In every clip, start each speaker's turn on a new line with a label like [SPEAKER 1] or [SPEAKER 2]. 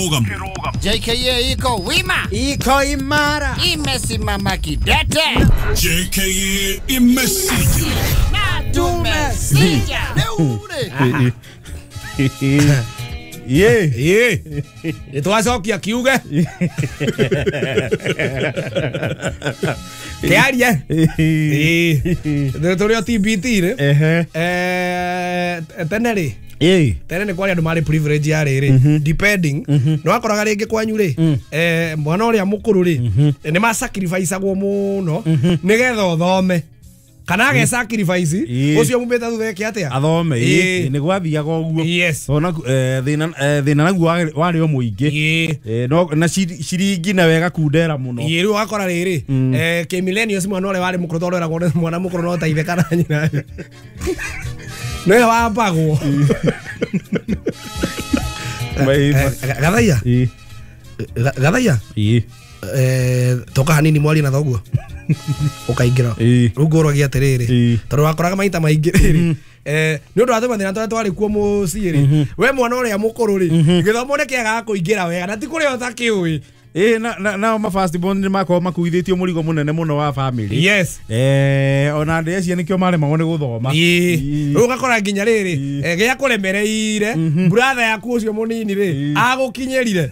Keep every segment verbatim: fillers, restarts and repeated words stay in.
[SPEAKER 1] Kĩrũgamo.
[SPEAKER 2] J K A iko wima,
[SPEAKER 3] iko imara,
[SPEAKER 2] imesimama kidete.
[SPEAKER 1] J K A imesija
[SPEAKER 2] na tumesija.
[SPEAKER 4] Ye ye nitwacokia kiuge kiarie ii turi o T B T ri eh tene ri tene ni kwari andu mari privilege ya riri depending no akoraga ringi kwanyu ri eh mwana uria mukuru ri ni ma sacrifice agwo muno nigetha uthome kana age sacrifice ucio mumite thutha eke atia
[SPEAKER 5] athome ii ni gwathiaga uguo ona thina thina naguo wari o muingi no na ciringi na wega kundera muno
[SPEAKER 4] ii riu akora riri eh ki millennials mwana uria wari mukuru tondu eragwo mwana mukuru no ta ithe kana nyina niwe wambagwo gathaia gathaia eh toka hanini mwari na thoguo ukaingira riu ngũragia atiriri tondu wakoraga maita maingi riri eh ni undu wa mathina twaria twari kuo mucii ri we mwana uria mukuru ri githomo ni kiagaga kuingira wega na ti kuria utakiui
[SPEAKER 5] eh na nao ma first born ni makorwo makuithitio murigo munene muno wa family.
[SPEAKER 4] Yes
[SPEAKER 5] eh ona ndi acio nikio maremagwo ni guthoma
[SPEAKER 4] ii riu ugakora nginya riri gia kuremereire brother yaku ucio munini ri agukinyirire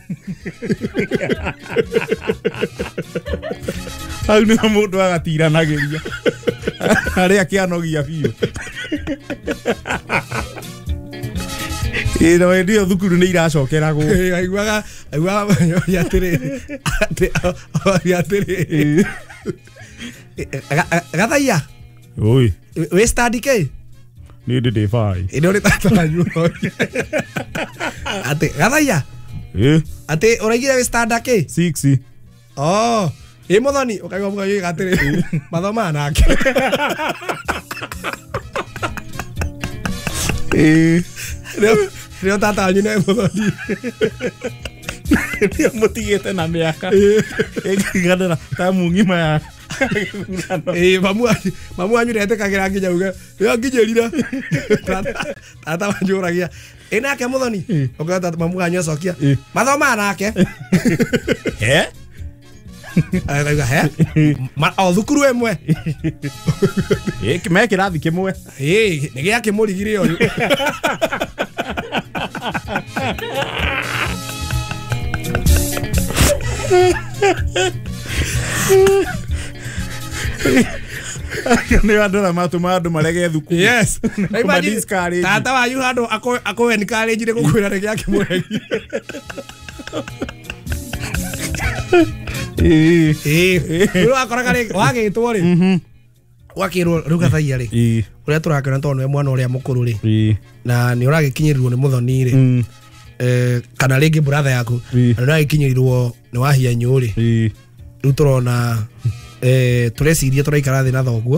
[SPEAKER 5] hau ni mundu agatiranagiria aria kianogia biu ino ndio thukuru ni iracokeragwo
[SPEAKER 4] aiguaga aiguaga atiri atiri gathaia
[SPEAKER 5] oi
[SPEAKER 4] we study ke
[SPEAKER 5] ni ndi ndi fai
[SPEAKER 4] ino ni tata wanyu ati gathaia
[SPEAKER 5] eh
[SPEAKER 4] ati uraigire we study ke
[SPEAKER 5] six
[SPEAKER 4] oh ĩ muthoni ukaigua mugayoiga atiri mathoma nake
[SPEAKER 5] eh
[SPEAKER 4] Rio tata wanyu nĩ muthoni
[SPEAKER 5] ndio mutigite na miaka ĩkĩganĩra ta mung'ima ya
[SPEAKER 4] ĩ mamu mamu wanyu ndetĩkagĩra nginya uge ĩyo nginyĩrire tata wanyu ũragia ĩ nake muthoni ũkauga tata mamu wanyu acokia mathoma nake
[SPEAKER 5] he
[SPEAKER 4] akauga he o thukuru ĩmwe
[SPEAKER 5] ĩ me kĩrathi kĩmwe
[SPEAKER 4] ĩ nĩ gĩa kĩmũrigire ũyũ
[SPEAKER 5] nä andå arä matå andå marege thukuru.
[SPEAKER 4] Yes tata wanyu handå akå encourage nä gå kwä ra nä gä akä må regi ä rä wakoraga wagä two rä wakirwo rä u gathaia rä å rä a tå rakena tondå nä mwana å rä a må kå rå rä na nä å ragä kinyä rirwo nä må thoni rä kana rä ngä brother yaku na nä å ragä kinyä rirwo nä wahianyå rä rä u tå rona tå reciria tå raikara thä na thoguo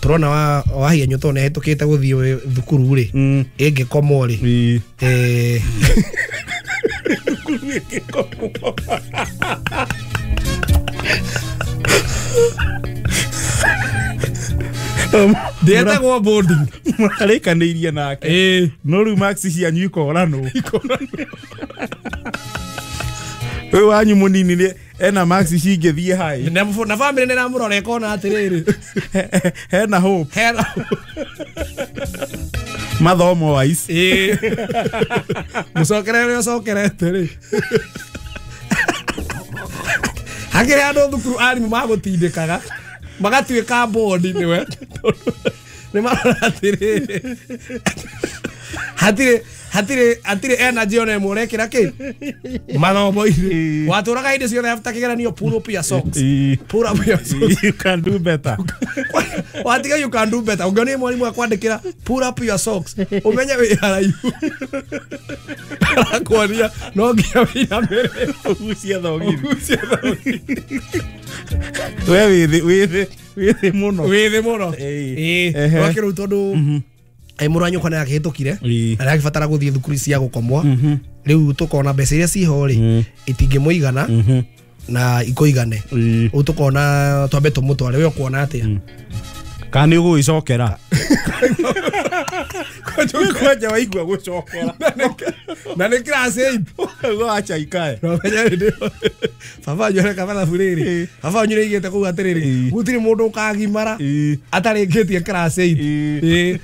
[SPEAKER 4] tå rona wahianyå tondå nä hetå kä te gå thiä thukuru rä ä ngä komwo rä
[SPEAKER 5] thukuru ä ngä komwo
[SPEAKER 4] ndietagwo boarding
[SPEAKER 5] mũrarĩkanĩirie nake no rĩu marks cianyu ikoranwo ũyũ wanyu mũnini nĩ ena marks cingĩthiĩ high
[SPEAKER 4] na family nĩ ramũrora ĩkona atĩrĩrĩ
[SPEAKER 5] hena hope
[SPEAKER 4] hena
[SPEAKER 5] mathomo wise
[SPEAKER 4] mũcokere ũrĩa ũcokerete rĩ hakĩrĩ andũ thukuru arimũ magũtindĩkaga magatuĩka bondi nĩwe nĩ marora atĩrĩrĩ hatirĩ hatirĩ hatirĩ energy ona ĩmwe ũrekĩra kĩ mathomo-inĩ watũraga hĩndĩ ciothe after kĩgeranio pull up your socks pull up your socks
[SPEAKER 5] you can do better
[SPEAKER 4] watiga you can do better ũngĩona mwarimũ akwandĩkĩra pull up your socks ũmenye wĩ haraihu arakuonia no nginya wĩinamĩrĩre
[SPEAKER 5] ũgucie thogithi ũgucie thogithi we wĩ thĩ wĩ thĩ wĩ thĩ mũno
[SPEAKER 4] wĩ thĩ mũno ĩĩ wakĩrĩu tondũ ä må rå wa nyåkwa nä akä hä tå kire na nä agäbatara gå thiä thukuru cia gå komwo rä u tå kona mbeca iria ciho rä itingä må igana na ikå igane rä u tå kona twambe tå må tware we å kuona atä a
[SPEAKER 5] Kana nĩ ũgũgĩcokera kwanja waigua gũcokera
[SPEAKER 4] na nĩ class eight
[SPEAKER 5] acha ikae
[SPEAKER 4] baba wanyu areka mathabu rĩrĩ baba wanyu nĩaigĩte kũu atĩrĩrĩ gũtirĩ mũndũ ũkagimara atarĩkĩtie class eight ĩĩ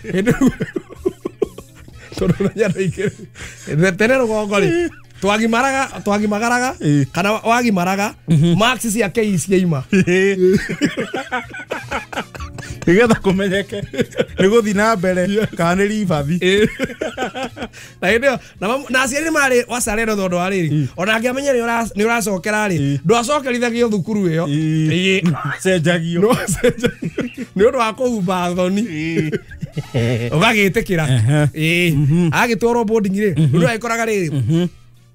[SPEAKER 4] tondũ ũmenya ndaingĩrĩ tene rũgongo rĩ twagimaraga twagimagaraga kana wagimaraga marks cia K ciaima
[SPEAKER 5] nigetha kumenyeke ni guthi na mbere kana ni ribathi
[SPEAKER 4] na hĩndĩ ĩyo na aciari nĩ marĩ wacarero tondũ wa rĩrĩ ona angĩamenya nĩ ũracokera rĩ ndwacokerithagio thukuru ĩyo
[SPEAKER 5] cenjagio
[SPEAKER 4] nĩ ũndũ wa kũhumba thoni ũgagĩtĩkĩra ĩĩ agĩtwarwo boarding rĩ ũndũ agĩkoraga rĩrĩ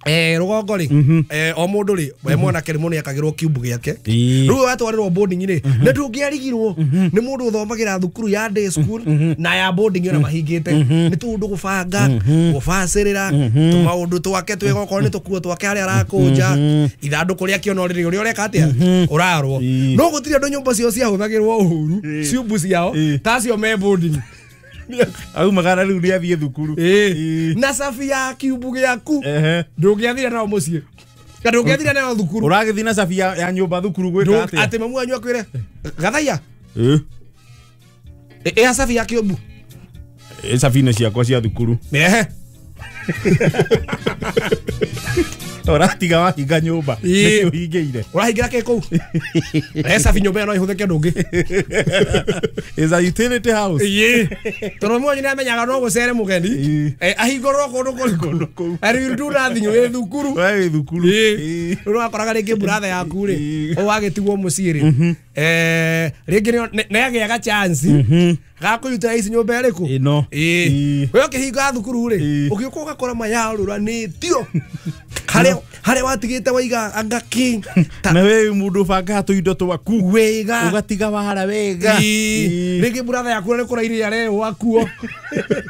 [SPEAKER 4] eh rugongo ri eh o mundu ri we mwanake rimwe niakagirwo cube giake riu watwarirwo boarding ri ni ndungiarigirwo ni mundu uthomagira thukuru ya day school na ya boarding ona mahingite ni tundu gubanga gubacirira tumaundu twake twega okorwo ni tukuo twake aria arakunja ithanduku ria kiono riri uria ureka atia urarwo no gutiri andu nyumba cio ciahuthagirwo uhuru ciumbu ciao tacio me boarding
[SPEAKER 5] au magana riu ni athie thukuru
[SPEAKER 4] na safi ya kiumbu giaku ndungiathire nao mucii kana ndungiathire nao thukuru
[SPEAKER 5] uragithi na safi ya nyumba thukuru gwika atia
[SPEAKER 4] ati mamu wanyu akwire gathaia eh eh safi ya kiumbu
[SPEAKER 5] eh safi ne ciakwa cia thukuru
[SPEAKER 4] ehe
[SPEAKER 5] uratiga wahinga nyumba niki uhingiire
[SPEAKER 4] urahingira ki kuu eh safi nyumba no ihuthike ndungi
[SPEAKER 5] is a utility house
[SPEAKER 4] ii tondu mwanyu niamenyaga no gucere mugeni eh ahingorwo kundu kuri
[SPEAKER 5] kundu kuu
[SPEAKER 4] and you do nothing wi thukuru
[SPEAKER 5] wi thukuru
[SPEAKER 4] ii urakoraga ringi brother yaku ri wagitigwo mucii ri eh ringi niagiaga chance gakuruta ici nyumba iriku
[SPEAKER 5] ino
[SPEAKER 4] ii we ukihinga thukuru ri ugiuka ugakora mayaruranitio haria haria watigite waiga anga ki
[SPEAKER 5] na we mundu banga tuindo twaku
[SPEAKER 4] wega
[SPEAKER 5] ugatiga wara wega
[SPEAKER 4] ringi brother yaku ni kurairia reo wakuo.